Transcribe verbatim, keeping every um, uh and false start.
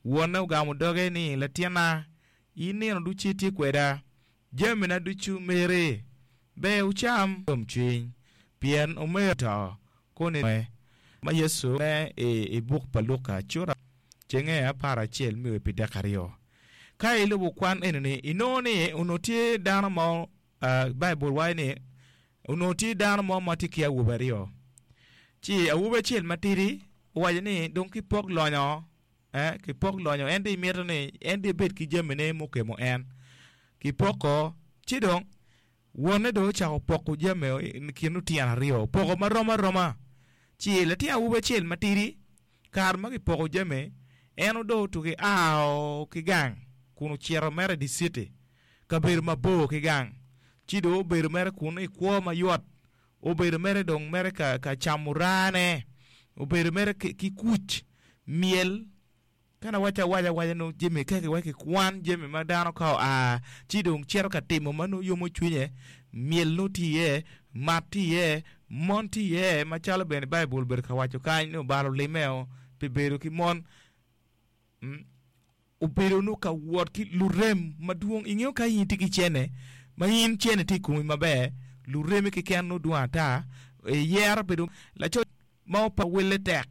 Wonne ogamo doge ni, Latinna, in nino ducu itye kweda, jamina ducu meri. Ber wucam yomcwiny, pien omeru oto, koni ma Yecu ne i buk pa Luka cura cenge apar acel me pi dek aryo. Ka ilubo kwan eni-ni, inongo ni onongo tye dano mo, Baibul waco ni onongo tye dano mo ma tye ki awobe aryo. Ci awobi acel matidi owaco ni dong kipok lonyo, eh, kipok lonyo, en dong imito ni en dong ebed ki jamine mukemo en. Kipoko, ci dong wonne dong ocako poko jami i kin lutino aryo, opoko marom aroma. Ci latin awobi acel matidi, kare ma kipoko jami, en odong otugi ao ki gang kun ocito mere i dye citi, kabedo mabor ki gang. Ci dong obedo mere kun i kwo mayot, obedo mere dong mere ka, ka camo rane, obedo mere ki, ki kuc, myel. Ka nawacce awaca awaca nongo jami ka kiwaco kikwan jami ma dano ka oa ci dong cito ka timo ma nongo yomo cwinye, myel nongo tye iye, mat tye iye, mon tye iye macalo bene Baibul obedo ka waco kany ni obalo limeo pi bedo ki mon. Obedo nongo ka wot ki lurem madwong. Ingeyo ka in itye ki cene ma in cene tye i komi maber, luremi keken nongo dwong ata, iyero bedo laco ma opa welle tek.